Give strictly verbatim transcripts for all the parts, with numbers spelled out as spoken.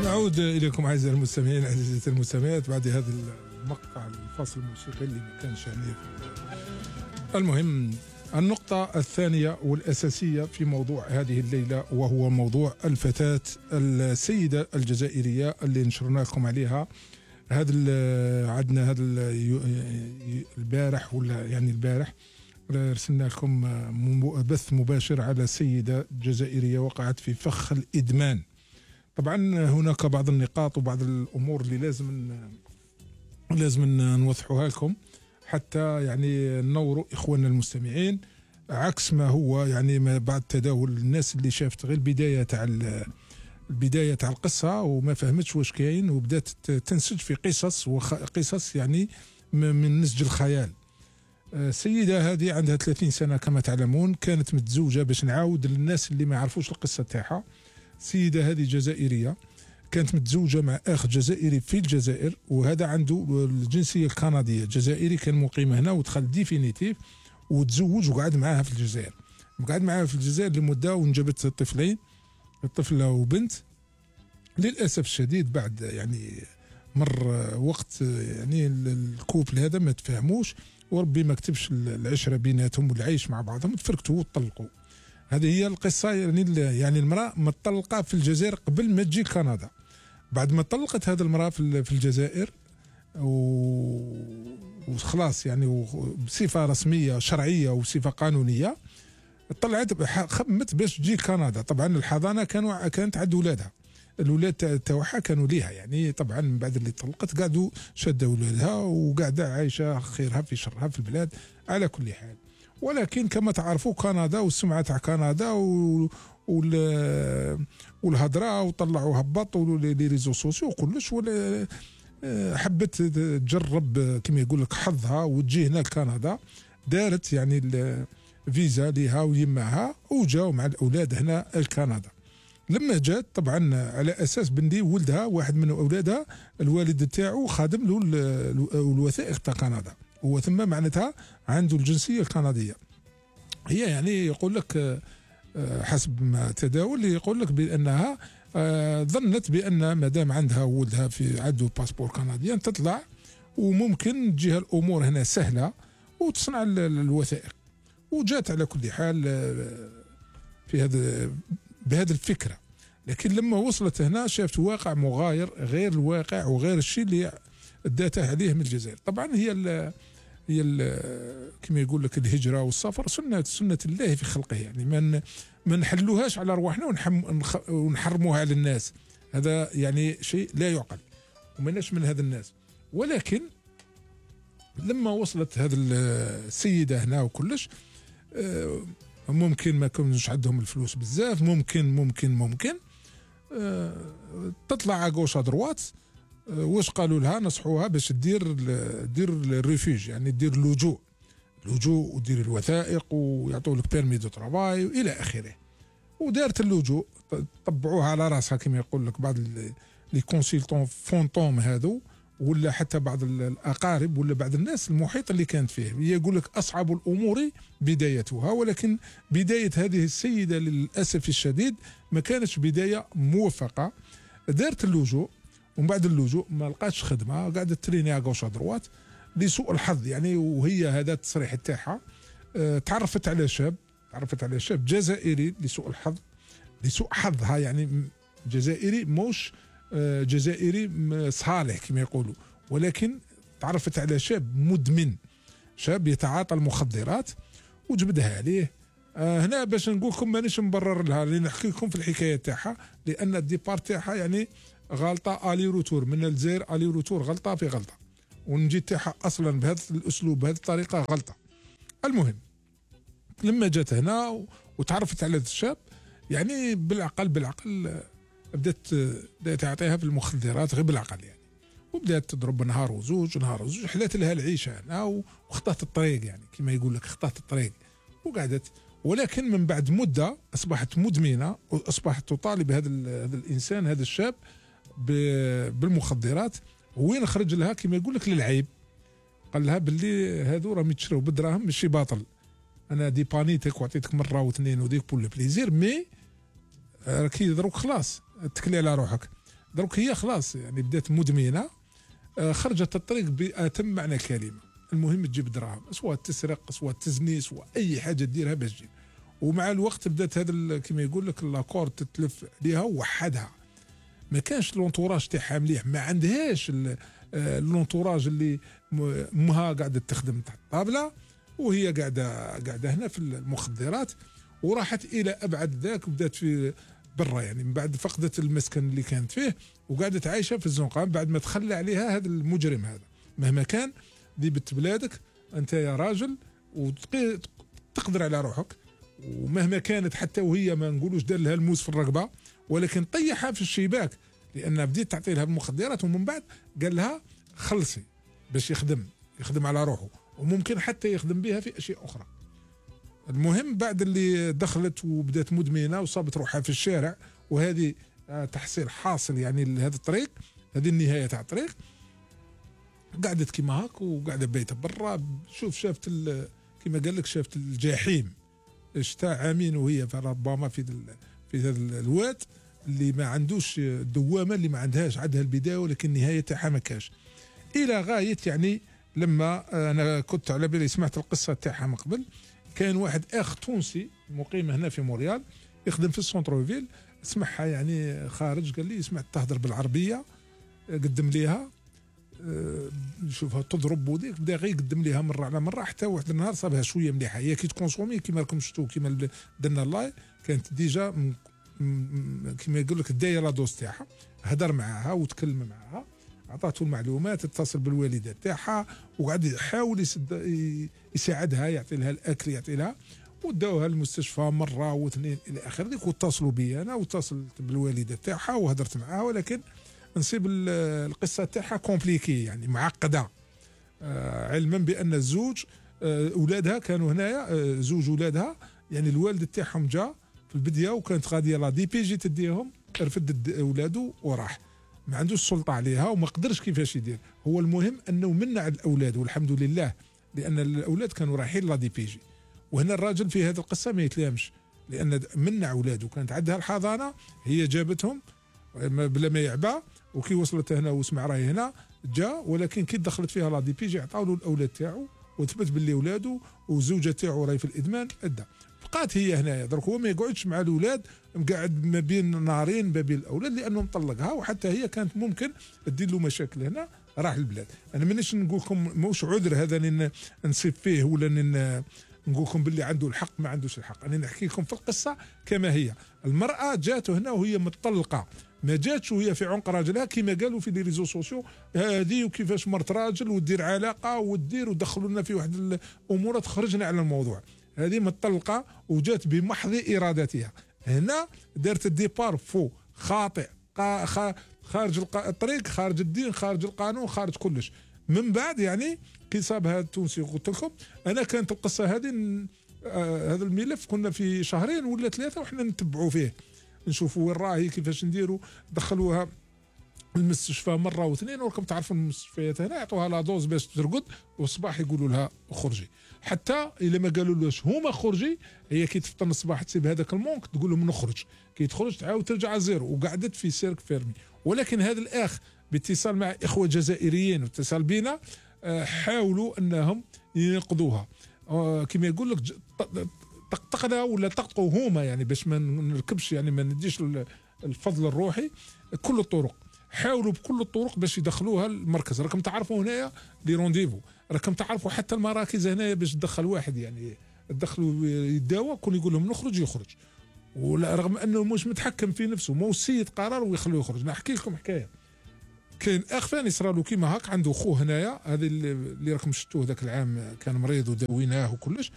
نعود إليكم أعزائي المستمعين عزيزتي المستمعات بعد هذا المقطع الفاصل الموسيقي اللي ما كانش يعني. المهم النقطة الثانية والأساسية في موضوع هذه الليلة وهو موضوع الفتاة السيدة الجزائرية اللي نشرنا لكم عليها هذا عندنا هذا البارح ولا يعني البارح رسلنا لكم بث مباشر على سيدة جزائرية وقعت في فخ الإدمان. طبعا هناك بعض النقاط وبعض الأمور اللي لازم لازم نوضحوها لكم حتى يعني ننوروا إخواننا المستمعين، عكس ما هو يعني ما بعد تداول الناس اللي شافت غير البداية تاع البداية تاع القصة وما فهمتش واش كاين وبدات تنسج في قصص وقصص يعني من نسج الخيال. السيدة هذه عندها ثلاثين سنة كما تعلمون، كانت متزوجة باش نعاود للناس اللي ما يعرفوش القصة تاعها. السيدة هذه جزائرية كانت متزوجة مع أخ جزائري في الجزائر وهذا عنده الجنسية الكندية، جزائري كان مقيم هنا ودخل ديفينيتيف وتزوج وقعد معها في الجزائر، وقعد معها في الجزائر لمدة وانجبت طفلين، طفلة وبنت. للأسف الشديد بعد يعني مر وقت يعني الكوبل هذا ما تفاهموش وربي ما كتبش العشرة بيناتهم والعيش مع بعضهم، تفركتوا وطلقوا. هذه هي القصة يعني يعني المرأة مطلقة في الجزائر قبل ما تجي كندا. بعد ما طلقت هذه المرأة في الجزائر وخلاص يعني بصفة رسمية شرعية وصفة قانونية طلعت خمت باش تجي كندا. طبعا الحضانة كانوا كانت عند ولادها، الولاد تاعها كانوا ليها يعني. طبعا من بعد اللي طلقت قعدوا شدوا ولادها وقاعدة عايشة خيرها في شرها في البلاد على كل حال. ولكن كما تعرفوا كندا والسمعة تاع كندا والهضرة وطلعوا هبط ولي ريزو سوسيو وكلش، ولا حبت تجرب كما يقول لك حظها وتجي هنا لكندا. دارت يعني الفيزا ليها ويماها وجاوا مع الاولاد هنا لكندا. لما جات طبعا على اساس بندي ولدها واحد من اولادها الوالد تاعو خادم له الوثائق تاع كندا، هو ثم معناتها عنده الجنسية الكندية. هي يعني يقول لك حسب ما تداول يقول لك بأنها ظنت بأن ما دام عندها ولدها في عنده باسبور كندي تطلع وممكن تجيها الأمور هنا سهلة وتصنع الوثائق، وجات على كل حال في هذا بهذه الفكرة. لكن لما وصلت هنا شافت واقع مغاير غير الواقع وغير الشيء اللي اداته عليه من الجزائر. طبعا هي ال هي ال كما يقول لك الهجرة والسفر سنة سنة الله في خلقه، يعني ما ما نحلوهاش على رواحنا ونحرموها على الناس، هذا يعني شيء لا يعقل ومناش من هذا الناس. ولكن لما وصلت هذه السيدة هنا وكلش ممكن ما كانوش عندهم الفلوس بزاف، ممكن ممكن ممكن تطلع على غوش دروات. واش قالوا لها؟ نصحوها باش دير دير الريفوج، يعني دير اللجوء اللجوء ودير الوثائق ويعطوا لك بيرمي دو ترافاي والى اخره. ودارت اللجوء، طبعوها على راسها كما يقول لك بعض لي كونسلتون فونتوم هذو، ولا حتى بعض الاقارب ولا بعض الناس المحيط اللي كانت فيه. يقول لك اصعب الامور بدايتها، ولكن بدايه هذه السيده للاسف الشديد ما كانتش بدايه موفقه. دارت اللجوء ومن بعد اللجوء ما لقاتش خدمه، قاعده تريني على غوش دروات لسوء الحظ يعني. وهي هذا التصريح تاعها اه تعرفت على شاب تعرفت على شاب جزائري لسوء الحظ لسوء حظها يعني جزائري موش اه جزائري صالح كما يقولوا، ولكن تعرفت على شاب مدمن، شاب يتعاطى المخدرات وجبدها عليه. اه هنا باش نقول لكم مانيش مبرر لها، لان نحكي لكم في الحكايه تاعها، لان الديبار تاعها يعني غلطه الي روتور من الجزائر، الي روتور غلطه في غلطه، ونجي تاعها اصلا بهذا الاسلوب بهذه الطريقه غلطه. المهم لما جات هنا وتعرفت على هذا الشاب يعني بالعقل بالعقل بدات بدات تعطيها في المخدرات غير بالعقل يعني، وبدات تضرب نهار وزوج نهار وزوج، حلات لها العيشه هنا واخطات الطريق يعني كما يقول لك اخطات الطريق وقعدت. ولكن من بعد مده اصبحت مدمنه واصبحت تطالب هذا هذا الانسان هذا الشاب بالمخدرات. وين خرج لها كما يقول لك للعيب، قال لها باللي هذو راهم يتشراو بالدراهم ماشي باطل، انا ديبانيتك وعطيتك مره واثنين وديك بول بليزير، مي راكي دروك خلاص اتكلي على روحك. دروك هي خلاص يعني بدات مدمنه، آه خرجت الطريق بأتم معنى كلمه. المهم تجيب دراهم، سواء تسرق سواء تزني سواء اي حاجه ديرها باش تجيب. ومع الوقت بدات هذا كما يقول لك لاكور تتلف عليها ووحدها. ما كانش لونتوراج تاعها مليح، ما عندهاش اللونتوراج اللي امها قاعده تخدم تحت الطابله وهي قاعده قاعده هنا في المخدرات، وراحت الى ابعد ذاك وبدات في برا يعني من بعد فقدت المسكن اللي كانت فيه وقعدت عايشه في الزنقه بعد ما تخلى عليها هذا المجرم هذا. مهما كان دي بنت بلادك انت يا راجل وتقدر على روحك، ومهما كانت حتى وهي ما نقولوش دار لها الموس في الرقبه ولكن طيحها في الشباك لان بديت تعطي لها المخدرات، ومن بعد قال لها خلصي باش يخدم يخدم على روحه وممكن حتى يخدم بها في اشياء اخرى. المهم بعد اللي دخلت وبدات مدمنه وصابت روحها في الشارع، وهذه تحصيل حاصل يعني لهذا الطريق، هذه النهايه تاع الطريق. قعدت كيما هاك وقاعده بايته برا، شوف شافت كيما قال لك شافت الجحيم. شتا عامين وهي ربما في في هذا الواد اللي ما عندوش الدوامه اللي ما عندهاش، عندها البدايه ولكن النهايه تاعها ما كاش. الى غايه يعني لما انا كنت على بالي سمعت القصه تاعها من قبل، كان واحد اخ تونسي مقيم هنا في موريال يخدم في السونتر فيل، سمعها يعني خارج قال لي سمعت تهضر بالعربيه، قدم ليها نشوفها تضرب وديك بدا غير يقدم ليها مره على مره حتى واحد النهار صابها شويه مليحه. هي كي تكونسومي كيما راكم شفتوا كيما درنا اللاي كانت ديجا كيما يقول لك دايره دوز تاعها، هدر معاها وتكلم معاها، عطاته المعلومات، اتصل بالوالده تاعها وقعد يحاول يساعدها، يعطي لها الاكل يعطي لها، وداوها المستشفى مره واثنين الى اخره. ديك واتصلوا بي انا واتصلت بالوالده تاعها وهدرت معاها، ولكن نصيب القصه تاعها كومبليكي يعني معقده، آه علما بان الزوج آه اولادها كانوا هنايا، آه زوج اولادها يعني الوالد تاعهم جا في البدايه وكانت غاديه لا دي بي جي تديهم، رفد اولاده وراح، ما عندوش سلطه عليها وما قدرش كيفاش يدير. هو المهم انه منع الاولاد والحمد لله، لان الاولاد كانوا رايحين لا دي بي جي. وهنا الراجل في هذه القصه ما يتلامش لان منع اولاده، كانت عندها الحضانه هي جابتهم بلا ما يعبى، وكي وصلت هنا وسمع راهي هنا جا، ولكن كي دخلت فيها لا دي بي جي عطاو له الاولاد تاعو وثبت باللي اولاده وزوجته تاعو راهي في الادمان ادى. بقات هي هنايا درك هو ما يقعدش مع الاولاد، مقعد ما بين نارين ما بين الاولاد لانه مطلقها، وحتى هي كانت ممكن تدير له مشاكل هنا راح البلاد. انا مانيش نقول لكم موش عذر هذا نصيب فيه ولا نقول لكم باللي عنده الحق ما عندوش الحق، انا نحكي لكم في القصه كما هي. المراه جاته هنا وهي مطلقه، ما جاتش وهي في عنق راجلها كما قالوا في لي ريزو سوسيو هذه وكيفاش مرت راجل ودير علاقه ودير ودخلوا لنا في واحد الامور تخرجنا على الموضوع. هذه مطلقه وجات بمحض ارادتها. هنا دارت الديبار فو خاطئ، خارج الطريق، خارج الدين، خارج القانون، خارج كلش. من بعد يعني كي صابها التونسي قلت لكم انا كانت القصه هذه آه هذا الملف كنا في شهرين ولا ثلاثه وحنا نتبعوا فيه نشوفوا وين راهي كيفاش نديروا. دخلوها المستشفى مره واثنين، وراكم تعرفوا المستشفيات هنا يعطوها لا دوز باش ترقد والصباح يقولوا لها خرجي، حتى الا ما قالوا لهاش هما خرجي هي كي تفطر الصباح تسيب هذاك المونك تقول لهم نخرج، كي تخرج تعاود ترجع زيرو، وقعدت في سيرك فيرمي. ولكن هذا الاخ باتصال مع اخوه جزائريين واتصال بينا حاولوا انهم ينقذوها، كما يقول لك طقطقنا ولا طقطقوا هما يعني باش ما نركبش يعني ما نديش الفضل الروحي. كل الطرق حاولوا بكل الطرق باش يدخلوها المركز. راكم تعرفوا هنايا لي رونديفو، راكم تعرفوا حتى المراكز هنايا باش تدخل واحد يعني تدخلوا يداوى كون يقول لهم نخرج يخرج، ولا رغم انه مش متحكم في نفسه، مو السيد قرار ويخلوه يخرج. نحكي لكم حكايه، كاين اخ ثاني صرا له كيما هاك، عنده خوه هنايا هذا اللي راكم شفتوه ذاك العام كان مريض وداويناه وكلش.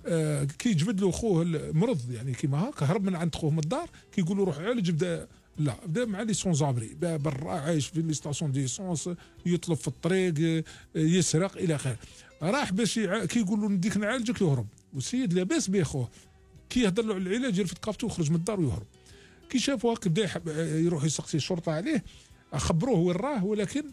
آه كي جبد له خوه المرض يعني كيما هاك، هرب من عند خوه من الدار، كي يقولوا روح عالج بدا لا بدا مع لي سون زابري برا عايش في لي ستاسيون دي سونس، يطلب في الطريق، يسرق الى اخره. راح باش يع... كي يقولوا نديك نعالجك يهرب، والسيد لاباس به خوه، كي يهضر له على العلاج يرفد كابتو ويخرج من الدار ويهرب. كي شافوا هاك بدا يروح يسقسي الشرطه عليه، خبروه وين راه، ولكن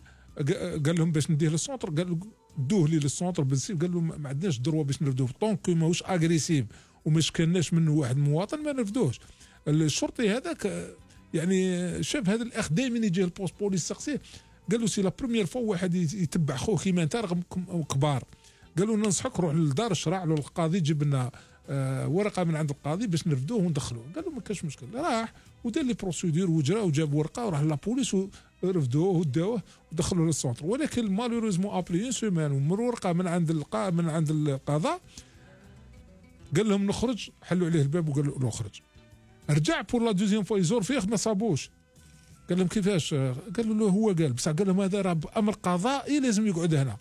قال لهم باش نديه للسونتر، قال دوه لي للسونتر بالسيف، قال لهم ما عندناش دروه باش نرفدوه طونك ماهوش اغريسيف وماش كاناش منه واحد مواطن ما نرفدوهش. الشرطي هذاك يعني شاف هذا الاخ دائما يجي البوست بوليس سقسيه، قال له سي لا بروميير فوا واحد يتبع خوه كيما انت رغم كبار، قال له ننصحك روح للدار الشرع له القاضي جيب لنا آه ورقه من عند القاضي باش نرفدوه وندخلوه. قال له ما كاش مشكل، راح ودار لي بروسيدور وجرا وجاب ورقه وراح لابوليس ورفدوه وداوه ودخلوه للسونتر. ولكن مالوريزمون ابري اون سيمان ومر ورقه من عند القا من عند القضاء قال لهم نخرج، حلوا عليه الباب وقال له نخرج. رجع بور لا دوزيام فوا يزور فيه ما صابوش، قال لهم كيفاش؟ قالوا له هو قال، بصح قال لهم هذا راه بامر قضائي لازم يقعد هنا.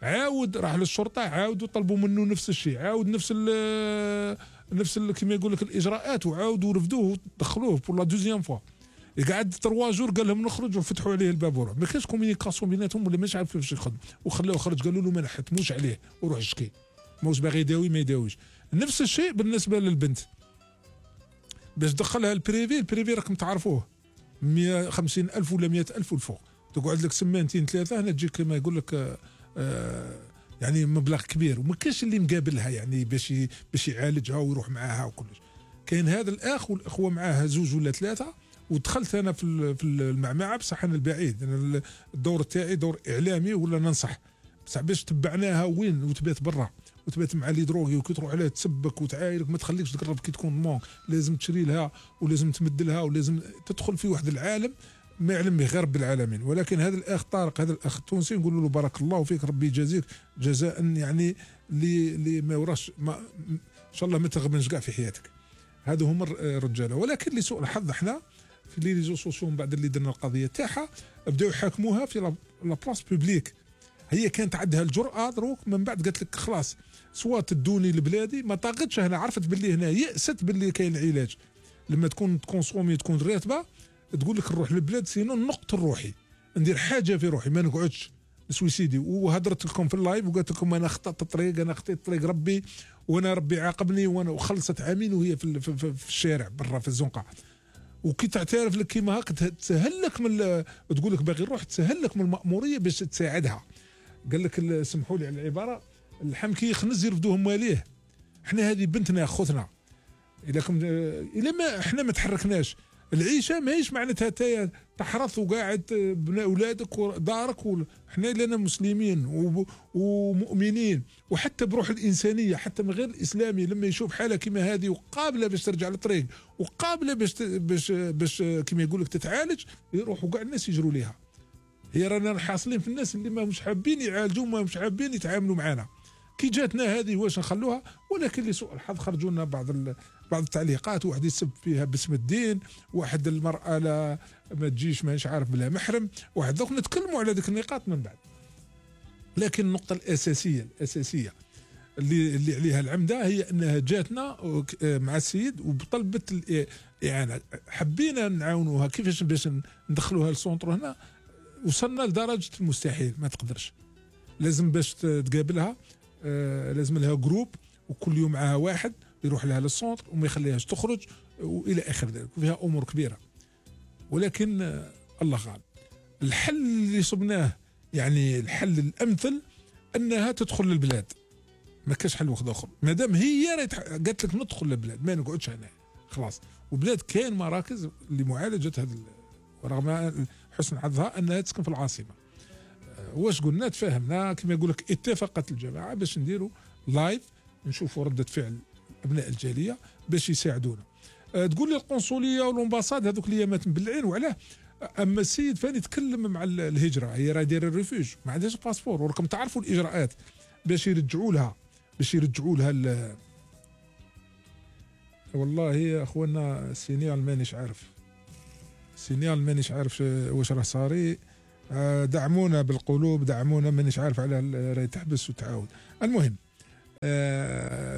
عاود راح للشرطه عاودوا طلبوا منه نفس الشيء، عاود نفس ال نفس كما يقول لك الاجراءات، وعاودوا رفدوه ودخلوه بور لا دوزيام فوا. قعد تروا جور قال لهم نخرج وفتحوا عليه الباب وروح. ما كانش كومينيكاسيون بيناتهم ولا مش عارف كيفاش يخدم، وخلاوه خرج قالوا له ما نحتموش عليه وروح اشكي، ماهوش باغي يداوي ما يداويش. نفس الشيء بالنسبه للبنت باش دخلها البريفي، البريفي راكم تعرفوه مئة وخمسين ألف ولا مئة ألف والفوق، تقعد لك سمانتين ثلاثه هنا تجيك كما يقول لك آه آه يعني مبلغ كبير، وما كاش اللي مقابلها يعني باش باش يعالجها ويروح معاها وكلش. كاين هذا الاخ والاخوه معاه زوج ولا ثلاثه، ودخلت انا في في المعمعه بصح انا البعيد، انا الدور تاعي دور اعلامي ولا ننصح، بصح باش تبعناها وين وتبات برا وتبات مع لي دروغي وكي تروح عليها تسبك وتعايرك، ما تخليكش تقرب كي تكون مون، لازم تشري لها ولازم تمد لها ولازم تدخل في واحد العالم ما يعلم به غير رب العالمين. ولكن هذا الاخ طارق هذا الاخ التونسي نقول له بارك الله فيك، ربي يجازيك جزاء يعني اللي اللي ما وراش ما ان شاء الله ما تغبنش كاع في حياتك. هذو هما الرجاله. ولكن لسوء الحظ احنا في لي ريزو سوسيو من بعد اللي درنا القضيه تاعها بداو يحاكموها في لا بلاص بوبليك. هي كانت عندها الجرأه دروك من بعد قالت لك خلاص سوا تدوني لبلادي، ما طاقتش هنا، عرفت باللي هنا يأست باللي كاين علاج. لما تكون تكونسومي تكون راتبه تقول لك نروح للبلاد سينو نقتل روحي، ندير حاجه في روحي ما نقعدش سويسيدي. وهدرت لكم في اللايف وقالت لكم انا خطأت الطريق، انا خطيت طريق ربي وانا ربي عاقبني، وانا وخلصت عامين وهي في, في, في, في الشارع برا في الزنقه. وكي تعترف لك كيما هاك تسهل لك من تقول لك باغي نروح، تسهل لك من المأموريه باش تساعدها. قال لك سمحوا لي على العباره، اللحم كي يخنز يرفدوه مواليه. احنا هذه بنتنا اخوتنا، اذا كم الا ما احنا ما تحركناش العيشه ماهيش معناتها تا تحرث وقاعد بنا اولادك ودارك. احنا لنا مسلمين ومؤمنين، وحتى بروح الانسانيه حتى من غير الاسلامي لما يشوف حاله كما هذه وقابله باش ترجع للطريق وقابله باش باش باش كما يقول لك تتعالج، يروحوا كاع الناس يجروا ليها. هي رانا حاصلين في الناس اللي ما مش حابين يعالجوا ما مش حابين يتعاملوا معنا. كي جاتنا هذه واش نخلوها؟ ولكن لسوء الحظ خرجوا لنا بعض بعض التعليقات، واحد يسب فيها باسم الدين، واحد المرأة لا ما تجيش مانيش عارف بلا محرم، واحد دوك نتكلموا على ذيك النقاط من بعد. لكن النقطة الأساسية الأساسية اللي اللي عليها العمدة هي أنها جاتنا مع السيد وطلبت الإعانة، حبينا نعاونوها كيفاش باش ندخلوها للسونتر هنا، وصلنا لدرجة المستحيل ما تقدرش. لازم باش تقابلها آه لازم لها جروب وكل يوم معها واحد يروح لها للسونتر وما يخليهاش تخرج والى اخر ذلك، وفيها امور كبيره. ولكن آه الله غالب. الحل اللي صبناه يعني الحل الامثل انها تدخل للبلاد، ما كاش حل واحد اخر. مادام هي قالت لك ندخل للبلاد ما نقعدش هنا خلاص. وبلاد كاين مراكز لمعالجه هذا، رغم حسن حظها انها تسكن في العاصمه. واش قلنا تفاهمنا كما يقول لك اتفقت الجماعه باش نديروا لايف نشوفوا رده فعل ابناء الجاليه باش يساعدونا. أه تقول لي القنصليه والامباساد هذوك الايامات مبلعين وعلاه. اما السيد فاني تكلم مع الهجره، هي راه دايره الريفوج ما عندهاش باسبور، وراكم تعرفوا الاجراءات باش يرجعوا لها باش يرجعوا لها. والله يا اخوانا السينيال مانيش عارف السينيال مانيش عارف واش راه صاري. دعمونا بالقلوب، دعمونا مانيش عارف على راهي تحبس وتعاود. المهم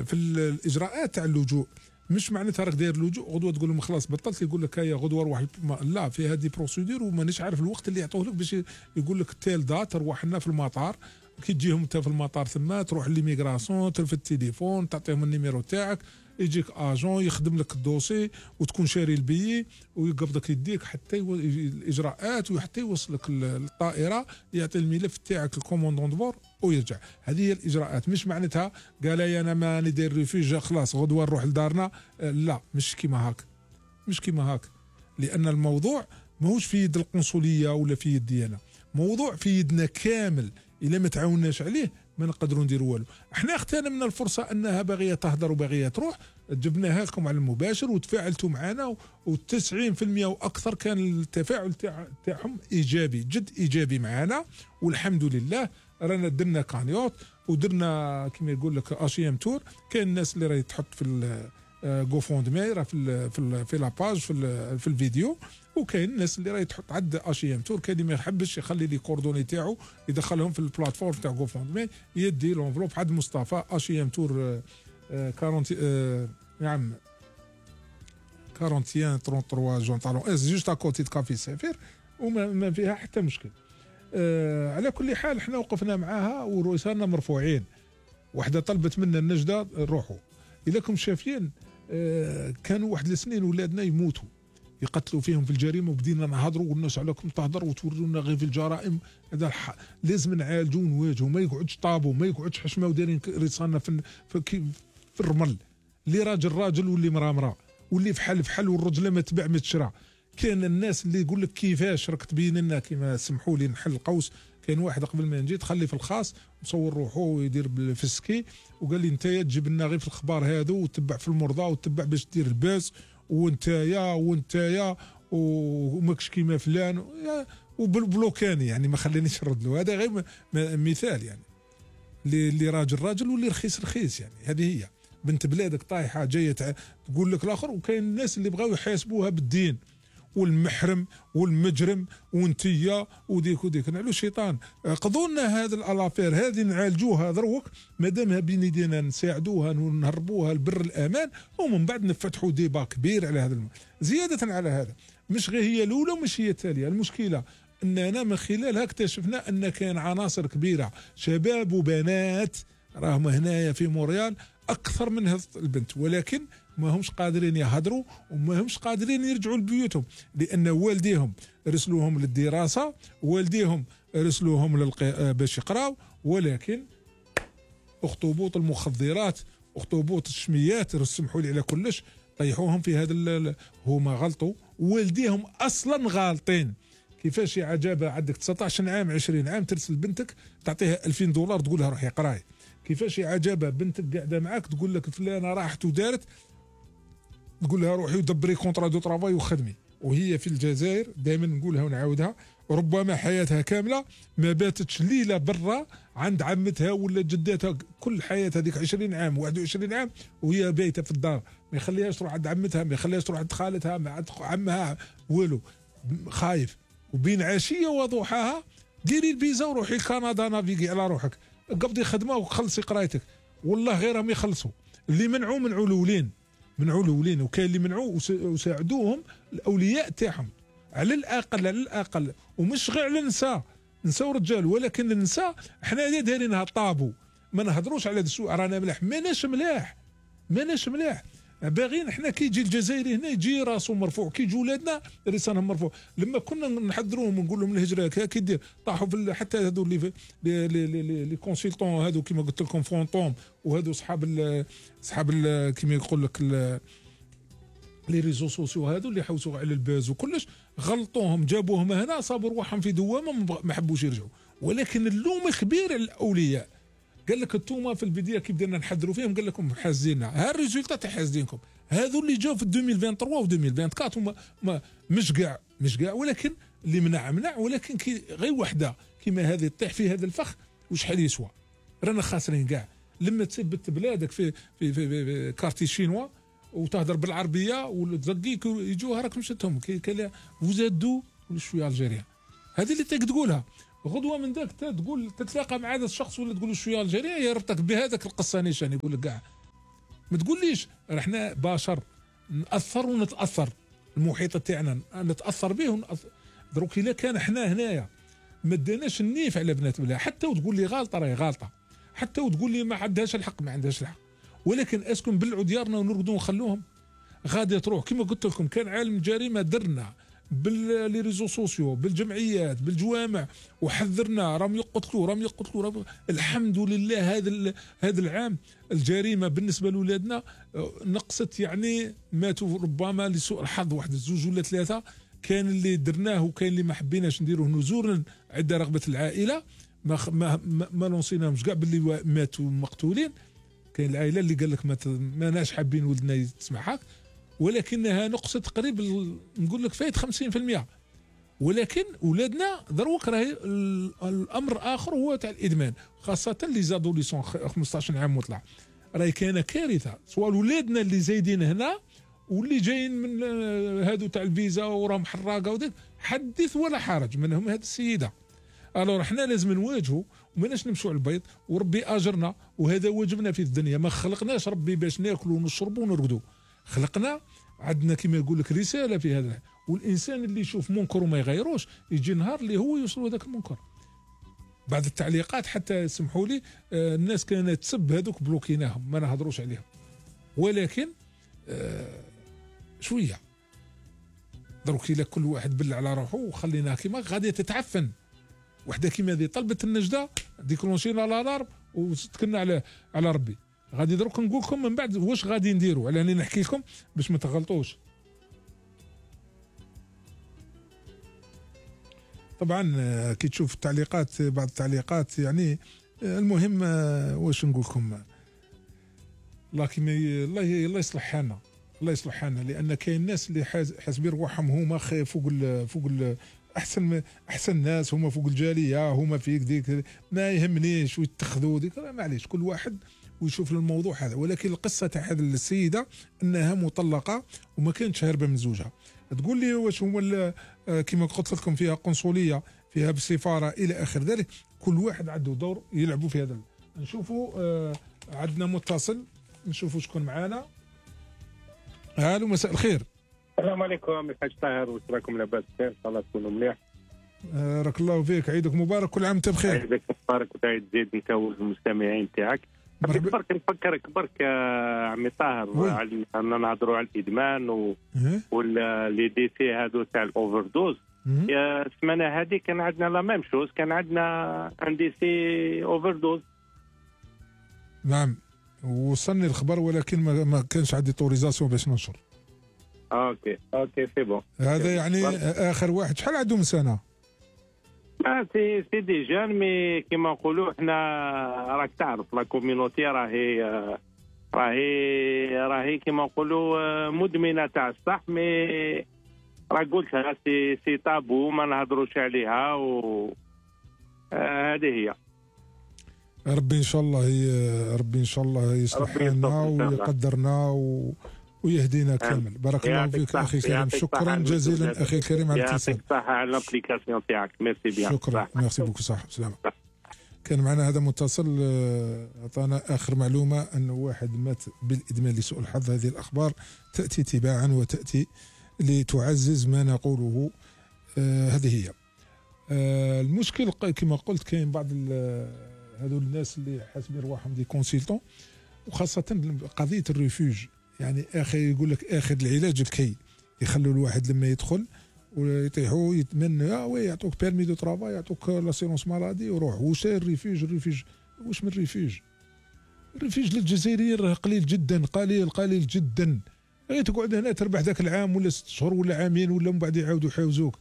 في الاجراءات تاع اللجوء مش معناتها راك داير اللجوء غدوه تقول لهم خلاص بطلت، يقول لك هيا غدوه روح. لا، في هذه بروسيدور ومانيش عارف الوقت اللي يعطوه لك باش يقول لك تيل دات تروح لنا في المطار. كي تجيهم انت في المطار ثم تروح للميغراسيون ترفد التليفون تعطيهم النيميرو تاعك، يجيك اجون يخدم لك الدوسي وتكون شاري البيي ويقبضك يديك حتى الاجراءات وحتى يوصلك الطائره يعطي الملف تاعك الكوموندون دبور ويرجع. هذه هي الاجراءات. مش معناتها قال لي انا ماني داير ريفوج خلاص غدوه نروح لدارنا. لا، مش كيما هاك مش كيما هاك. لان الموضوع ماهوش في يد القنصليه ولا في يدي انا، موضوع في يدنا كامل. الا ما تعاوناش عليه ما نقدروا نديروا والو. احنا اغتنمنا الفرصه انها باغيه تهدر وباغيه تروح، جبناها لكم على المباشر وتفاعلتوا معنا، وتسعين في المية واكثر كان التفاعل تاعهم ايجابي، جد ايجابي معنا، والحمد لله. رانا درنا كانيوت ودرنا كما يقول لك اشيام تور. كاين الناس اللي راهي تحط في جو فوند مي راه في في في لاباج في, في الفيديو، وكاين الناس اللي راهي تحط عد اشيام تور. كاين اللي ما يحبش يخلي لي كوردوني تاعو يدخلهم في البلاتفورم تاع جو فوند مي، يدي لونفلوب عند مصطفى اشيام تور أربعين نعم واحد وأربعين ثلاثة وثلاثين جون طالون اس جوست اكوتي د كافي سفير، وما ما فيها حتى مشكل. أه على كل حال احنا وقفنا معاها ورسالنا مرفوعين. وحده طلبت منا النجده روحوا. الا كم شافين أه كانوا واحد السنين ولادنا يموتوا يقتلوا فيهم في الجريمه، وبدينا نهضروا والناس عليكم تهضر وتورونا غير في الجرائم. هذا لازم نعالجوا ونواجهوا، ما يقعدش طابو، ما يقعدش حشمه ودايرين رصاننا في في, في الرمل. اللي راجل راجل واللي مرا مرا واللي فحل فحل والرجله ما تباع ما تشرى. كان الناس اللي يقول لك كيفاش راك تبين لنا كيما سمحوا لي نحل القوس. كان واحد قبل ما نجي تخلي في الخاص مصور روحه ويدير في السكي، وقال لي نتايا تجيب لنا غير في الاخبار هذو وتتبع في المرضى وتتبع باش دير الباس، وانتايا وانتايا وماكش كيما فلان وبالبلوكاني، يعني ما خلانيش نرد له. هذا غير مثال يعني اللي راجل راجل واللي رخيص رخيص. يعني هذه هي بنت بلادك طايحه جايه تقول لك الاخر. وكاين الناس اللي بغاو يحاسبوها بالدين، والمحرم والمجرم وانتيا وديك وديك. نعلو الشيطان قضوا لنا هذا الالافير هذه نعالجوها دروك، مادامها بين يدينا نساعدوها ونهربوها لبر الامان، ومن بعد نفتحوا ديبا كبير على هذا الم... زياده على هذا. مش غير هي الاولى ومش هي التاليه، المشكله اننا من خلالها اكتشفنا ان كان عناصر كبيره شباب وبنات راهم هنايا في مونريال اكثر من هذه البنت، ولكن ما همش قادرين يهضروا وما همش قادرين يرجعوا لبيوتهم، لان والديهم رسلوهم للدراسه، والديهم رسلوهم للق... باش يقراوا، ولكن اخطبوط المخدرات اخطبوط الشميات سمحوا لي على كلش طيحوهم في هذا ال... هما غلطوا، والديهم اصلا غالطين. كيفاش يا عجابه عندك تسعطاش عام عشرين عام ترسل بنتك تعطيها ألفين دولار تقول لها روحي قراي؟ كيفاش يا عجابه بنتك قاعده معاك تقول لك فلانه راحت ودارت تقول لها روحي ودبري كونترا دو طرافاي وخدمي؟ وهي في الجزائر دائما نقولها ونعاودها، ربما حياتها كامله ما باتتش ليله برا عند عمتها ولا جدتها، كل حياتها هذيك عشرين عام واحد وعشرين عام وهي بايته في الدار، ما يخليهاش تروح عند عمتها، ما يخليهاش تروح عند خالتها، مع عمها والو، خايف. وبين عشيه وضحاها ديري الفيزا وروحي لكندا نافيغي على روحك، قبضي خدمه وخلصي قرايتك. والله غيرهم يخلصوا. اللي منعوا منعوا الاولين، منعوا الاولين، وكاين اللي منعوا وساعدوهم الاولياء تاعهم على الاقل على الاقل. ومش غير على النساء، نساء ورجال، ولكن النساء احنا دايرينها طابو، ما نهضروش على هذا السوء. رانا ملاح ماناش ملاح ماناش ملاح باغيين احنا كي يجي الجزائري هنا يجي راسه مرفوع، كي يجي ولادنا لسانهم مرفوع. لما كنا نحضروهم ونقول لهم الهجره كي دير طاحوا في حتى هذو اللي لي لي كونسلتون هذو كيما قلت لكم فونتوم، وهذو اصحاب اصحاب كيما يقول لك لي ريزو سوسيو هذو اللي حوسوا على الباز وكلش، غلطوهم جابوهم هنا صابوا رواحهم في دوامه ما حبوش يرجعوا. ولكن اللوم كبير على الاولياء. قال لك انتوما في البدايه كي بدينا نحضروا فيهم قال لكم حازيننا، ها الريزولتا تاع حازينكم. هذو اللي جاوا في ألفين وثلاثة وعشرين و ألفين وأربعة وعشرين هما ما مش كاع مش كاع، ولكن اللي منع منع. ولكن كي غير وحده كيما هذه تطيح في هذا الفخ وشحال يسوى؟ رانا خاسرين كاع. لما تثبت بلادك في في, في, في, في كارتي شينوا وتهضر بالعربيه وتزقيك يجوها راك مشتهم كي فوزادو شويه الجيريان. هذه اللي تقولها غدوه من ذاك تقول تتلاقى مع هذا الشخص ولا تقول له شويه الجيريا يربطك بهذاك القصه نيشان يقول لك كاع ما تقوليش. احنا بشر ناثر ونتاثر، المحيط تاعنا نتاثر به ونأثر. دروك الا كان احنا هنايا ما داناش النيف على بنات بلا، حتى وتقول لي غالطه راهي غالطه، حتى وتقول لي ما عندهاش الحق ما عندهاش الحق، ولكن اسكن نبلعوا ديارنا ونرقدوا ونخلوهم؟ غادي تروح كما قلت لكم. كان عالم جريمه درنا باللي ريزو سوسيو، بالجمعيات، بالجوامع، وحذرنا راهم يقتلوا راهم يقتلوا راهم. الحمد لله هذا هذا العام الجريمه بالنسبه لاولادنا نقصت، يعني ماتوا ربما لسوء الحظ واحد زوج ولا ثلاثه، كان اللي درناه وكاين اللي ما حبيناش نديروه نزورا عند رغبه العائله، ما ما ما لونسيناهمش كاع باللي ماتوا مقتولين. كاين العائله اللي قال لك ما ماناش حابين ولدنا يسمع هاك، ولكنها نقصت تقريبا نقول لك فايت خمسين بالمئة. ولكن اولادنا دروك راهي الامر اخر هو تاع الادمان، خاصه اللي زادوا لي سون خمسطاش عام وطلع، راهي كاينه كارثه. سواء ولادنا اللي زايدين هنا واللي جايين من هادو تاع الفيزا وراهم حراقه وديك، حدث ولا حرج منهم هذه السيده. الو احنا لازم نواجهوا وماناش نمشوا على البيض، وربي اجرنا، وهذا واجبنا في الدنيا. ما خلقناش ربي باش ناكلوا ونشربوا ونرقدوا، خلقنا عندنا كما يقول لك رساله في هذا. والانسان اللي يشوف منكر وما يغيروش يجي نهار اللي هو يوصل هذاك المنكر. بعد التعليقات حتى سمحوا لي آه الناس كانت تسب هذوك بلوكيناهم ما نهضروش عليهم، ولكن آه شويه دروك الا كل واحد بل على روحه وخليناها كيما غادي تتعفن. وحده كيما هذه طلبت النجده ديكلونشينا الالارم وتكلنا على على ربي. غادي دروك نقول لكم من بعد واش غادي نديروا، على اني نحكي لكم باش ما تغلطوش. طبعا كي تشوف التعليقات بعض التعليقات يعني المهم واش نقول لكم، الله كيما الله الله يصلح حالنا، الله يصلح حالنا، لان كاين ناس اللي حاسبين روحهم هما فوق ال فوق ال احسن احسن ناس، هما فوق الجاليه، هما فيك ديك ما يهمنيش ويتخذوا ديك، معليش كل واحد ويشوف الموضوع هذا. ولكن القصه تاع هذه السيده انها مطلقه وما كانتش هاربه من زوجها. تقول لي واش هما كما قلت لكم فيها قنصليه، فيها بالسفاره الى اخر ذلك، كل واحد عنده دور يلعبوا في هذا. نشوفوا آه عندنا متصل، نشوفوا شكون معانا. الو مساء الخير. السلام عليكم الحاج طاهر، واش راكم لاباس بخير؟ ان شاء الله تكونوا مليح. آه راك الله فيك، عيدك مبارك، كل عام وانت بخير. عيدك مبارك وتعيد زيد انت والمستمعين تاعك. برك نفكرك برك عمي طاهر على اننا نهضروا على الادمان و... ولا لي دي سي هادو تاع الاوفر دوز. يا السمانه هذه كان عندنا لا ميم شوز، كان عندنا ان دي سي اوفر دوز. نعم وصلني الخبر، ولكن ما, ما كانش عندي طوريزاسيون باش ننشر. اوكي اوكي سي بون. هذا يعني اخر واحد شحال عنده من سنه؟ آه سي سي دي جان، مي كيما نقولوا احنا راك تعرف لا كوميونيتي راهي راهي راهي كيما نقولوا مدمنه تاع الصح، مي راك قلتها سي سي تابو ما نهضروش عليها، و هذه هي. ربي ان شاء الله هي ربي ان شاء الله يصلح حالنا ويقدرنا و... ويهدينا كامل. بارك الله فيك اخي الكريم، شكرا جزيلا اخي الكريم على الاتصال. يعطيك الصحه على الابليكاسيون تاعك، ميرسي بيان. شكرا، ميرسي بوكو، صح سلامه. كان معنا هذا متصل اعطانا اخر معلومه انه واحد مات بالادمان لسوء الحظ. هذه الاخبار تاتي تباعا وتاتي لتعزز ما نقوله. آه هذه هي. آه المشكل كما قلت كاين بعض هذول الناس اللي حاسبين رواحهم دي كونسلتون، وخاصه قضيه الريفوج. يعني اخي يقول لك اخذ العلاج الكي، يخلوا الواحد لما يدخل ويطيحوا يتمنى اه وي يعطوك بيرمي دو ترافاي، يعطوك لاسيرونس مالادي وروح. واش الريفوج؟ الريفوج واش من ريفوج؟ الريفوج للجزائريين راه قليل جدا، قليل قليل جدا. غير تقعد هنا تربح ذاك العام ولا ست شهور ولا عامين ولا من بعد يعاودوا يحاوزوك.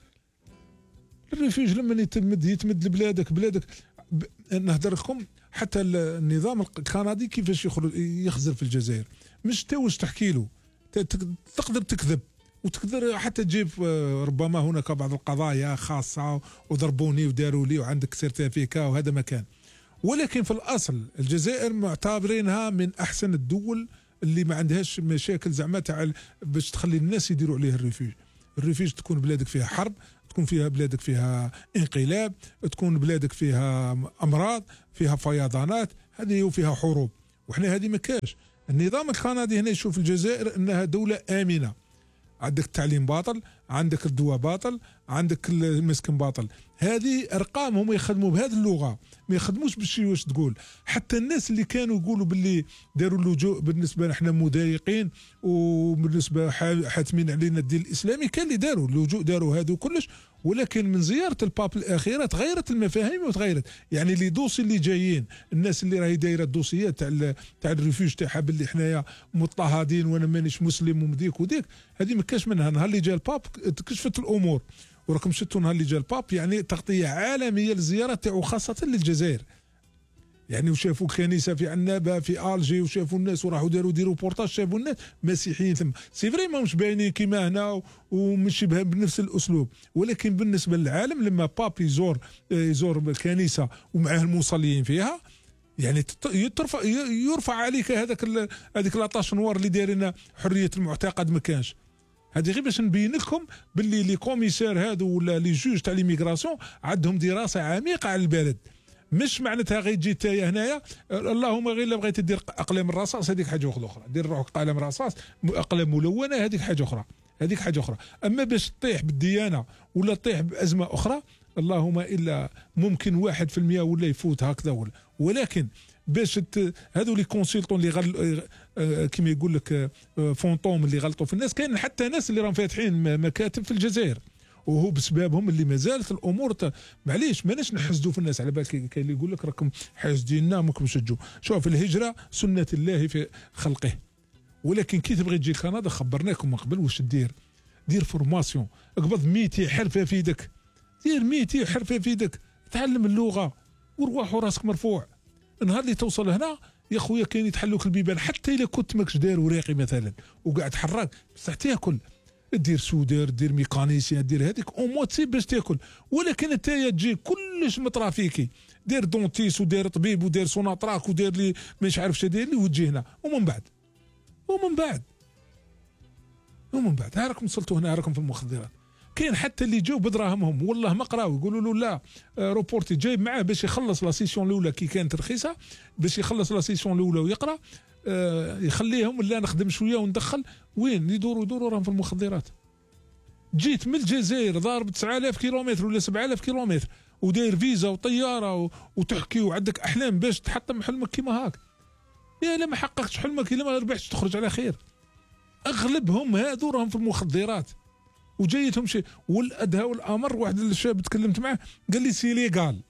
الريفوج لما يتمد يتمد لبلادك بلادك. ب... نهضر لكم حتى النظام الكندي كيفاش يخرج يخزر في الجزائر، مش تا واش تحكي له، تقدر تكذب وتقدر حتى تجيب ربما هناك بعض القضايا خاصه وضربوني وداروا لي وعندك سيرتيفيكا وهذا مكان. ولكن في الاصل الجزائر معتبرينها من احسن الدول اللي ما عندهاش مشاكل زعما تاع باش تخلي الناس يديروا عليه الريفوج. الريفوج تكون بلادك فيها حرب، تكون فيها بلادك فيها انقلاب، تكون بلادك فيها امراض، فيها فيضانات، هذه وفيها حروب. وحنا هذه ما كاش. النظام الكندي هنا يشوف الجزائر انها دوله امنه، عندك التعليم باطل، عندك الدواء باطل، عندك المسكن باطل. هذه ارقام هم يخدموا بهذه اللغه، ما يخدموش بالشيء واش تقول. حتى الناس اللي كانوا يقولوا باللي داروا اللجوء بالنسبه نحن مضايقين وبالنسبه حاتمين علينا الدين الاسلامي، كان اللي داروا اللجوء داروا هذا كلش، ولكن من زياره الباب الاخيره تغيرت المفاهيم وتغيرت. يعني لي دوسي اللي جايين، الناس اللي راهي دايره الدوسيات تاع تاع الريفوج تاعها باللي حنايا مضطهدين وانا مانيش مسلم ومديك وديك، هذه ما كاش منها. نهار اللي جا الباب تكشفت الامور، وراكم شفتوا نهار اللي جا الباب يعني تغطيه عالميه للزياره تاعو خاصه للجزائر. يعني وشافوا كنيسه في عنابه في الجي، وشافوا الناس وراحوا داروا دي روبورتاج، شافوا الناس مسيحيين ثم. سي فري ماهمش باينين كيما هنا ومش بنفس الاسلوب، ولكن بالنسبه للعالم لما باب يزور يزور الكنيسه ومعاه المصلين فيها، يعني ترفع يرفع عليك هذاك هذيك لاطاش نوار اللي دايرين حريه المعتقد ما كانش. هذه غير باش نبين لكم باللي لي كوميسار هادو ولا لي جوج تاع ليميغراسيون عندهم دراسه عميقه على البلد. مش معناتها غير تجي تايا هنايا اللهم غير الا بغيت دير اقلام الرصاص هذيك حاجه اخرى، دير روحك قلم رصاص اقلام ملونه هذيك حاجه اخرى، هذيك حاجه اخرى. اما باش تطيح بالديانه ولا تطيح بازمه اخرى اللهم الا ممكن واحد في المية ولا يفوت هكذا ولا. ولكن باش هذو لي كونسلتون اللي غل كيما يقول لك فونتوم اللي غلطوا في الناس، كاين حتى ناس اللي راهم فاتحين مكاتب في الجزائر وهو بسببهم اللي ما زالت الامور معليش ماناش نحسدوا في الناس. على بالك كاين اللي يقول لك راكم حاسديننا ماكم شجوا. شوف الهجره سنه الله في خلقه، ولكن كي تبغي تجي لكندا خبرناكم من قبل واش دير. دير فورماسيون، اقبض ميتين حرفه في يدك، دير ميتين حرفه في يدك، تعلم اللغه وروح وراسك مرفوع. النهار اللي توصل هنا يا خويا كاين يتحلوك البيبان، حتى الا كنت ماكش داير وراقي مثلا وقاعد تحرك بصح تاكل، دير سودير دير ميكانيسيان دير هذيك او موا تسيب باش تاكل. ولكن انت تجي كلش مطرافيكي، دير دونتيس ودير طبيب ودير سوناطراك ودير لي مش عارف شنو داير لي وتجي هنا ومن بعد ومن بعد ومن بعد ها راكم وصلتوا هنا راكم في المخدرات. كاين حتى اللي جاو بدراهمهم والله ما قراو يقولوا له لا روبورتي جايب معاه باش يخلص لا سيسيون الاولى كي كانت رخيصه، باش يخلص لا سيسيون الاولى ويقرا آه يخليهم لا نخدم شويه وندخل. وين يدوروا يدوروا راهم في المخدرات. جيت من الجزائر ضارب تسعة آلاف كيلومتر ولا سبعة آلاف كيلومتر وداير فيزا وطياره وتحكي وعندك احلام باش تحطم حلمك كيما هاك. يا لا ما حققتش حلمك الا ما ربحتش تخرج على خير. اغلبهم هذو راهم في المخدرات وجايتهم شيء. والادهى والامر واحد الشاب تكلمت معاه قال لي سي ليغال.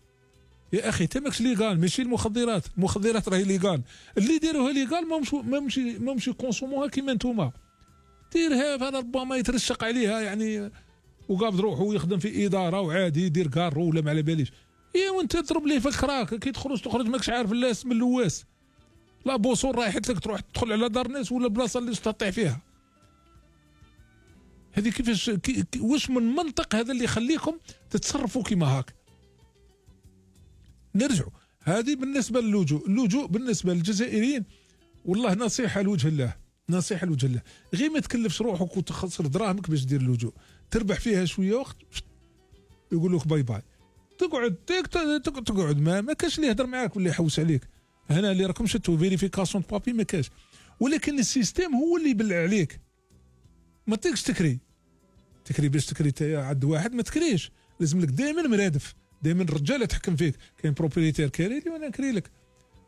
يا اخي انت ماكش ليغال، ماشي المخدرات، المخدرات راهي ليغال. اللي داروها ليغال ما مش ما مش ما مش يكونسوموها كيما نتوما. ديرها هذا ربما يترشق عليها يعني وقابض روحه ويخدم في اداره وعادي يدير كارو ولا ما على باليش. اي وانت تضرب ليه في الكراك كي تخرج تخرج ماكش عارف اللاس من اللواس. لا بوصول رايحت لك تروح تدخل على دار ناس ولا بلاصه اللي تطيح فيها. هذه كيفاش كي واش من منطق هذا اللي يخليكم تتصرفوا كيما هاك. نرجعوا هذه بالنسبه للجوء. اللجوء بالنسبه للجزائريين والله نصيحه لوجه الله، نصيحه لوجه الله، غير ما تكلفش روحك وتخسر دراهمك باش دير اللجوء، تربح فيها شويه وقت يقول لك باي باي. تقعد تقعد ما ما كاش اللي يهضر معاك ولا يحوس عليك. هنا اللي راكم شتو فيريفيكاسيون بابي ما كاش، ولكن السيستيم هو اللي يبلع عليك. ما تقدرش تكري تكري باش تكري تايا عند واحد ما تكريش، لازم لك دائما مرادف، دائما الرجال يتحكم فيك. كاين بروبريتير كاري لي وانا نكري لك،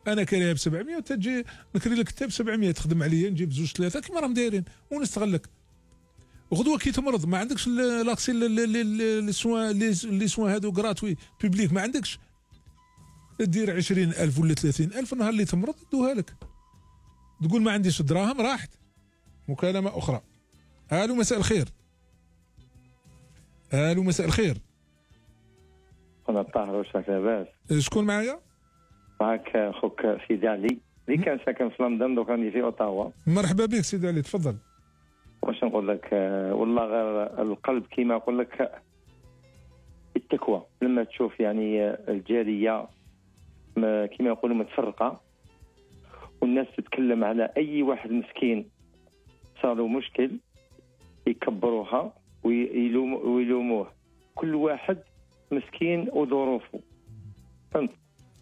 انا كاريها ب سبعمية وتجي نكري لك حتى ب سبعمية تخدم عليا نجيب زوج ثلاثه كيما راهم دايرين ونستغلك. غدوه كي تمرض ما عندكش لاكسي لي سوان لي سوان هادو غراتوي بوبليك ما عندكش، دير عشرين ألف ولا ثلاثين ألف نهار اللي تمرض يدوها لك. تقول ما عنديش دراهم راحت. مكالمه اخرى. الو مساء الخير. الو مساء الخير. انا طاهر واش لاباس؟ شكون معايا؟ معك خوك سيدي علي اللي كان ساكن في لندن دوك راني في اوتاوا. مرحبا بك سيدي علي تفضل. واش نقول لك والله غير القلب كيما نقول لك التكوى لما تشوف يعني الجاليه كيما يقولوا متفرقه والناس تتكلم على اي واحد مسكين صار له مشكل يكبروها ويلوموه. كل واحد مسكين وظروفه فهمت.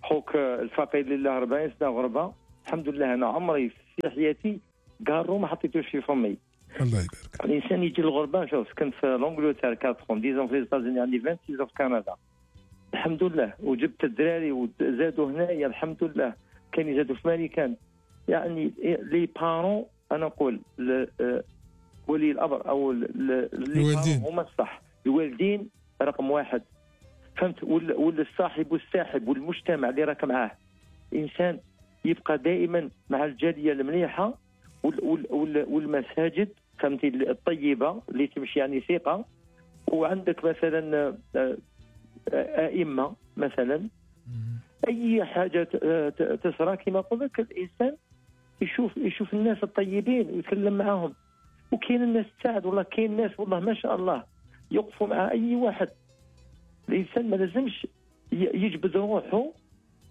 خوك الفقيد لله أربعين سنه غربه الحمد لله انا عمري في حياتي قارو ما حطيتوش في فمي. الله يبارك. الانسان يجي للغربه. شوف كنت في لونجلتير أربعة ديزون في الاستاذ عندي ستة وعشرين في كندا الحمد لله، وجبت الدراري وزادوا هنايا الحمد لله، كان يزادوا في ماريكان. يعني لي بارون انا نقول ولي الامر او الوالدين هما الصح، الوالدين رقم واحد فهمت، والصاحب والساحب والمجتمع اللي راك معاه. انسان يبقى دائما مع الجاليه المليحه والمساجد فهمتي الطيبه اللي تمشي يعني ثقه، وعندك مثلا ائمه مثلا. اي حاجه تصرى كما قلت لك الانسان يشوف يشوف الناس الطيبين ويتكلم معاهم، وكاين الناس تساعد والله، كاين ناس والله ما شاء الله يوقفوا مع اي واحد. الانسان ما لازمش يجبد روحه.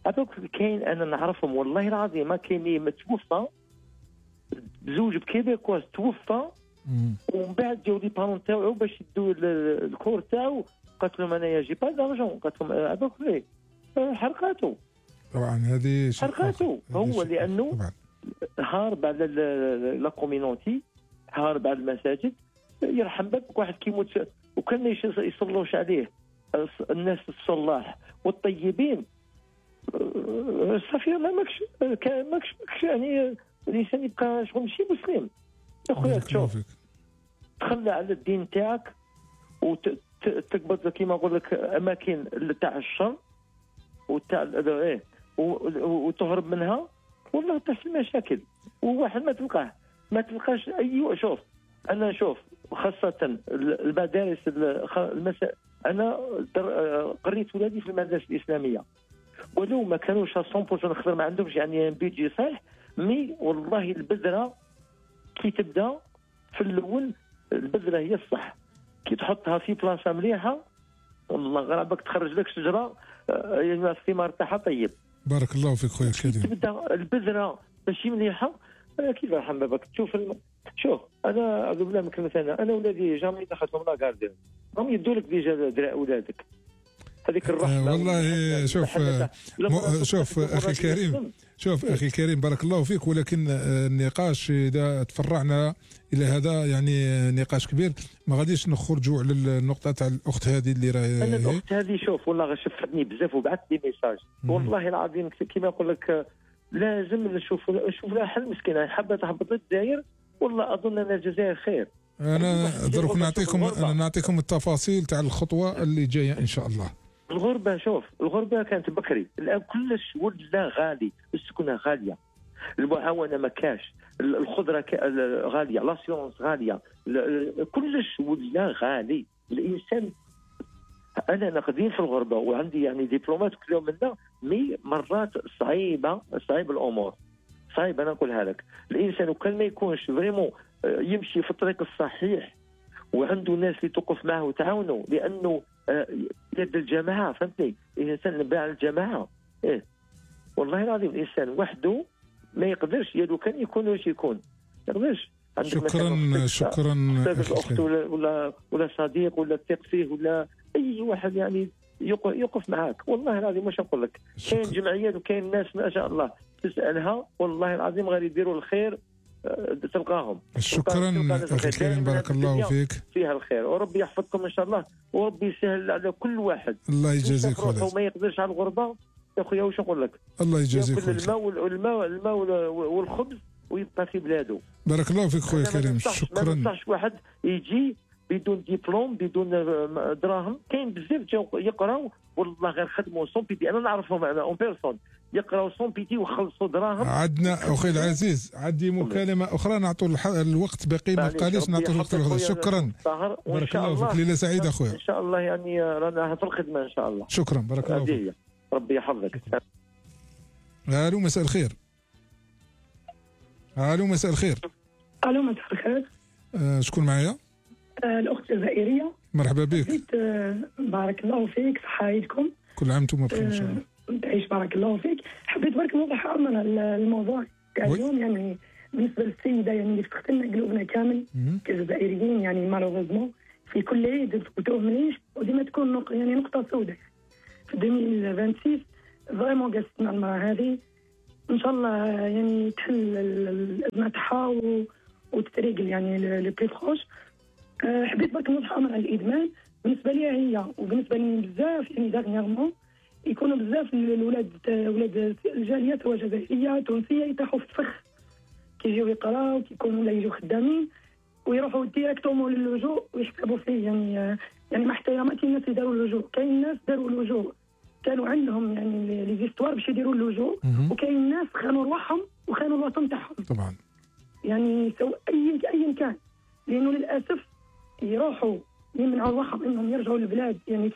هذوك كاين انا نعرفهم والله العظيم، ما كاين متوفى بزوج بكيبيكواز توفى ومن بعد جاو لي بارون تاعو باش يدوا الكور تاعو، قالت لهم انا يجي با دارجون، قالت لهم هذوك ليه حرقاته. طبعا هذه حرقاته هو لانه هارب على لا كوميونيتي، هارب على المساجد. يرحم بك واحد كيموت وكان يصلوش عليه الناس الصلاح والطيبين، صافي ما ماكش ماكش يعني الانسان يبقى شغل ماشي مسلم. يا خويا شوف تخلى على الدين تاعك وتقبض كيما نقول لك اماكن تاع الشر وتاع ايه وتهرب منها، والله تحصل مشاكل. وواحد ما تلقاه ما تلقاش اي. شوف انا شوف خاصه المدارس المسا... انا قريت ولادي في المدارس الاسلاميه، ولو ما كانوش مية بالمية نخدم ما عندهمش يعني بيجي صحيح، مي والله البذره كي تبدا في الاول البذره هي الصح، كي تحطها في بلاصه مليحه والله غرابك تخرج لك شجره يعني الثمار تاعها طيب. بارك الله فيك خويا كريم. تبدا البذره ماشي مليحه كيف يرحم بابك تشوف الم... شوف انا اقول بالله من كلمه انا انا ولادي جامي دخلتهم لا كاردين هم يدوا لك ديجا درا اولادك هذيك الرحمه. آه والله شوف م... شوف اخي كريم شوف اخي كريم بارك الله فيك، ولكن النقاش اذا تفرعنا الى هذا يعني نقاش كبير، ما غاديش نخرجوا على النقطه تاع الاخت هذه اللي راهي. انا الاخت هذه شوف والله شفتني بزاف وبعث لي ميساج والله العظيم كيما نقول لك لازم نشوف نشوف لها حل مسكينه، حابه تهبط للجزائر والله اظن ان الجزائر خير. انا دروك نعطيكم انا نعطيكم التفاصيل تاع الخطوه اللي جايه ان شاء الله. الغربه شوف الغربه كانت بكري، الان كلش ولا غالي، السكنه غاليه، المعاونه ما كاش، الخضره غاليه، لاسيونس غاليه، كلش ولا غالي. الانسان انا نقدين في الغربه وعندي يعني دبلومات كلهم منا، مي مرات صعيبه صعيب الامور صعيب. انا نقولها لك الانسان وكان ما يكونش فريمون يمشي في الطريق الصحيح وعنده ناس اللي توقف معه وتعاونه، لانه يد الجماعه فهمتني. الانسان نباع الجماعه ايه والله العظيم الانسان وحده ما يقدرش، يدو كان يكون واش يكون ما يقدرش. شكرا شكرا اخت ولا ولا ولا صديق ولا تثق فيه ولا اي واحد يعني يوقف معاك والله العظيم. واش نقول لك كاين جمعيات وكاين ناس ما شاء الله تسالها والله العظيم غير يديروا الخير تلقاهم. شكرا اخي كريم بارك الله فيك، فيها الخير وربي يحفظكم ان شاء الله وربي يسهل على كل واحد. الله يجازيك خويا. وما يقدرش على الغربه يا خويا واش نقول لك الله يجازيك خويا. الماء والماء الماء والخبز ويبقى في بلاده. بارك الله فيك خويا كريم. شكرا. ما ننصحش واحد يجي بدون دبلوم بدون دراهم، كاين بزاف جاو يقراو والله غير خدموا سون بيتي، انا نعرفهم انا اون بيرسون يقراو سون بيتي وخلصوا دراهم. عندنا اخي العزيز عندي مكالمه اخرى نعطوا الوقت باقي ما بقاليش نعطوا الوقت الأخرى. شكرا بارك الله فيك، ليله سعيده اخويا. ان شاء الله يعني رانا في الخدمه ان شاء الله. شكرا بارك الله فيك، ربي يحفظك. الو مساء الخير. الو مساء الخير. الو مساء الخير. آه شكون معايا؟ آه الاخت الجزائريه. مرحبا بك. آه بارك الله فيك، صحه عيدكم. كل عام وانتم بخير ان شاء الله. تعيش بارك الله فيك. حبيت برك نوضح امر الموضوع تاع اليوم، يعني بالنسبه للسيده يعني اللي فتحت لنا قلوبنا كامل كجزائريين، يعني مالوغوزمون في كل عيد وتهمنيش وديما تكون نق... يعني نقطه سوداء في ألفين وستة وعشرين. فريمون جالستنا المراه هذه ان شاء الله يعني تحل الازمه تاعها و... وتتريقل يعني لي بلي بروش. أه حبيت برك نوضح امر على الادمان. بالنسبه لي هي وبالنسبه لي بزاف يعني دارنييرمون يكونوا بزاف الاولاد ولاد الجاليه سواء جزائريه تونسيه يطيحوا في الفخ كيجيو يقراو كيكونوا ولا يجوا خدامين ويروحوا ديريكتومون للجوء ويحسبوا فيه يعني يعني مع احتراماتي الناس اللي داروا اللجوء. كاين ناس داروا اللجوء كانوا عندهم يعني لي زيستوار باش يديروا اللجوء وكاين ناس خانوا رواحهم وخانوا الوطن تاعهم طبعا يعني سواء اي ايا كان لانه للاسف يروحوا يمنعوا رواحهم انهم يرجعوا للبلاد يعني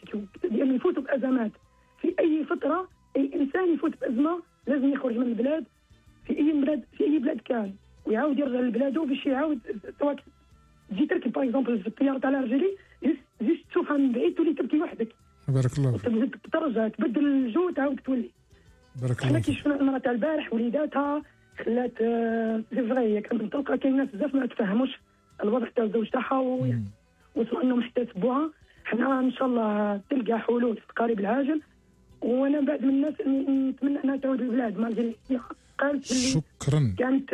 يعني يفوتوا بازمات في اي فتره. اي انسان يفوت بازمه لازم يخرج من البلاد في اي بلاد في اي بلاد كان ويعاود يرجع لبلاده باش يعاود سواء تجي تركب باغ اكزومبل في الطياره تاع الرجلي جيت تشوفها من بعيد تولي تبكي وحدك. بارك الله فيك. ترجع تبدل الجو تعاود تولي. بارك الله حنا فيك. كي شفنا المراه تاع البارح وليداتها خلات سي فري كانت متوقعه كاين ناس بزاف ما تفهموش الوضع تاع الزوج تاعها وصلوا انهم يحتسبوها. حنا ان شاء الله تلقى حلول في القريب العاجل وانا بعد من الناس اللي نتمنى انها تعود للبلاد مالجري قالت شكرا كانت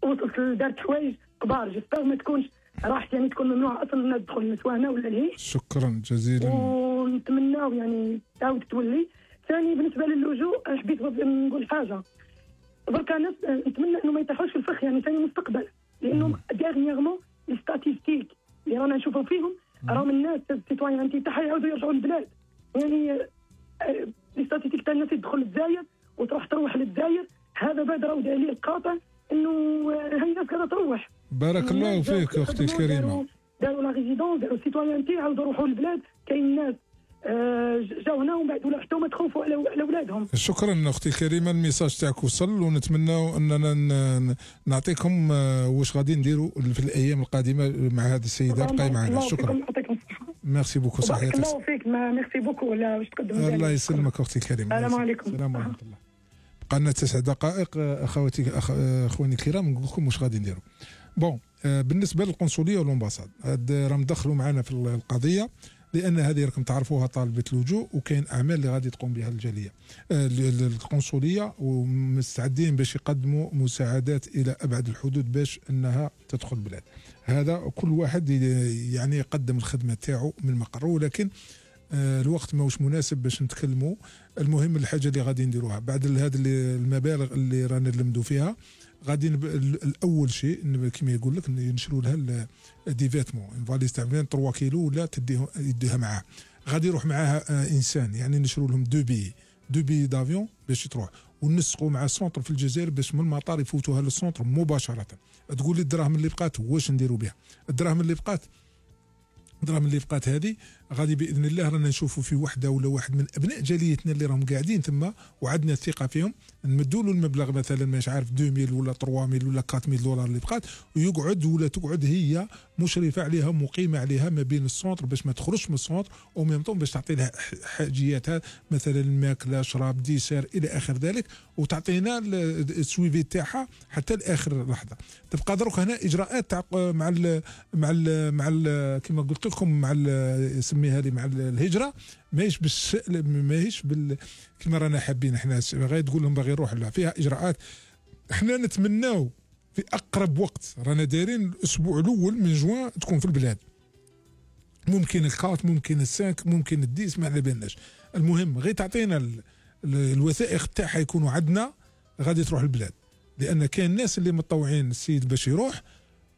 وصلت دارت حوايج كبار جيسبر ما تكونش راحت يعني تكون ممنوعه اصلا انها تدخل للسواهنه ولا لهيش. شكرا جزيلا ونتمناو يعني تعاود تولي. ثاني بالنسبه للجوء حبيت نقول حاجه بركا ناس نتمنى انه ما يطيحوش في الفخ يعني ثاني مستقبل لانه ديرنييرمون لي ستاتيستيك اللي رانا نشوفوا فيهم راهم الناس السيتويان انتي تاعها يعاودوا يرجعوا للبلاد يعني لي ستاتيستيك تاع الناس تدخل للجزائر وتروح تروح للجزائر هذا بعد راهو دليل قاطع انه هاي الناس قاعده تروح. بارك الله فيك اختي الكريمه. داروا لا ريزيدونس داروا سيتويانتي عاودوا يروحوا للبلاد. كاين ناس جاو هنا ومن بعد ولا حتى هما تخوفوا على اولادهم. شكرا اختي الكريمه الميساج تاعك وصل ونتمناو اننا نعطيكم واش غادي نديروا في الايام القادمه مع هذه السيده. بقاي معنا. شكرا. ميرسي بوكو. صحيح. الله فيك ميرسي بوكو ولا واش تقدم. الله يسلمك اختي الكريمه. السلام عليكم. السلام ورحمه الله. بقى لنا تسع دقائق اخواتي اخواني الكرام نقول لكم واش غادي نديروا. بون بالنسبه للقنصليه والامباساد هاد راهم دخلوا معنا في القضيه لان هذه راكم تعرفوها طالبه اللجوء وكاين اعمال اللي غادي تقوم بها الجاليه القنصليه ومستعدين باش يقدموا مساعدات الى ابعد الحدود باش انها تدخل البلاد. هذا كل واحد يعني يقدم الخدمه تاعو من مقره ولكن الوقت ماهوش مناسب باش نتكلموا. المهم الحاجه اللي غادي نديروها بعد هذه المبالغ اللي رانا نلمدوا فيها غادي الاول شيء كما يقول لك ينشروا لها دي فيتمون فاليز تاع ثلاثة كيلو ولا تديها يديها معاه. غادي يروح معاها انسان يعني نشروا لهم دو بي دو بي دافيون باش تروح ونسقوا مع السونتر في الجزائر باش من المطار يفوتوها للسونتر مباشره. تقول لي الدراهم اللي بقات واش نديروا بها؟ الدراهم اللي بقات الدراهم اللي بقات هذه غادي باذن الله رانا نشوفوا في وحده ولا واحد من ابناء جاليتنا اللي راهم قاعدين تما وعندنا الثقه فيهم نمدوا له المبلغ مثلا مش عارف اثنين ألف ولا ثلاثة آلاف ولا أربعة آلاف دولار اللي بقات ويقعد ولا تقعد هي مشرفه عليها مقيمه عليها ما بين السونتر باش ما تخرجش من السونتر وميم طون باش تعطي لها حاجياتها مثلا الماكله شراب ديسير الى اخر ذلك وتعطينا السويفي تاعها حتى لاخر لحظه. تبقى دروك هنا اجراءات تاع مع ال مع ال مع ال كما قلت لكم مع سميها لي مع الهجره ماهيش بالش ماهيش بال كما رانا حابين احنا غير تقول لهم باغي يروح لها فيها اجراءات. احنا نتمناو في اقرب وقت رانا دايرين الاسبوع الاول من جوان تكون في البلاد. ممكن الكات ممكن السانك ممكن الديس ما على بالناش. المهم غير تعطينا الوثائق تاعها يكونوا عندنا غادي تروح البلاد لان كاين ناس اللي متطوعين السيد باش يروح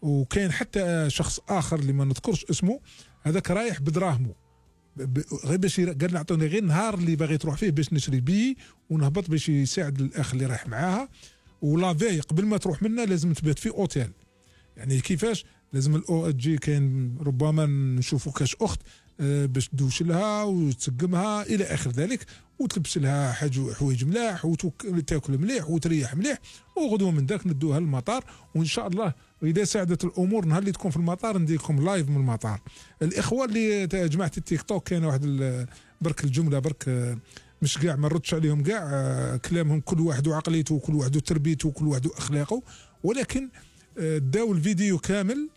وكاين حتى شخص اخر اللي ما نذكرش اسمه هذاك رايح بدراهمه غير باش قال نعطوني غير نهار اللي باغي تروح فيه باش نشري بيه ونهبط باش يساعد الاخ اللي رايح معاها. ولافي قبل ما تروح منا لازم تبات في اوتيل. يعني كيفاش لازم الاو تجي كاين ربما نشوفوا كاش اخت باش تدوش لها وتسقمها الى اخر ذلك وتلبس لها حاجه حوايج ملاح وتاكل مليح وتريح مليح وغدوه من ذاك ندوها للمطار وان شاء الله واذا ساعدت الامور نهار اللي تكون في المطار نديركم لايف من المطار. الاخوه اللي جماعه التيك توك كاين واحد برك الجمله برك مش كاع ما نردش عليهم كاع كلامهم كل واحد وعقليته وكل واحد وتربيته وكل واحد واخلاقه ولكن داو الفيديو كامل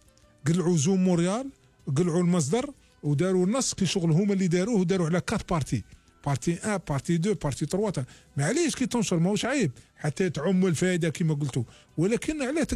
قلعوا زوم مونريال قلعوا المصدر وداروا النص كي شغل هما اللي داروه وداروا على كات بارتي بارتي واحد بارتي اثنين بارتي ثلاثة معليش كي تنشر ماهوش عيب حتى تعم الفائده كما قلتوا ولكن علاه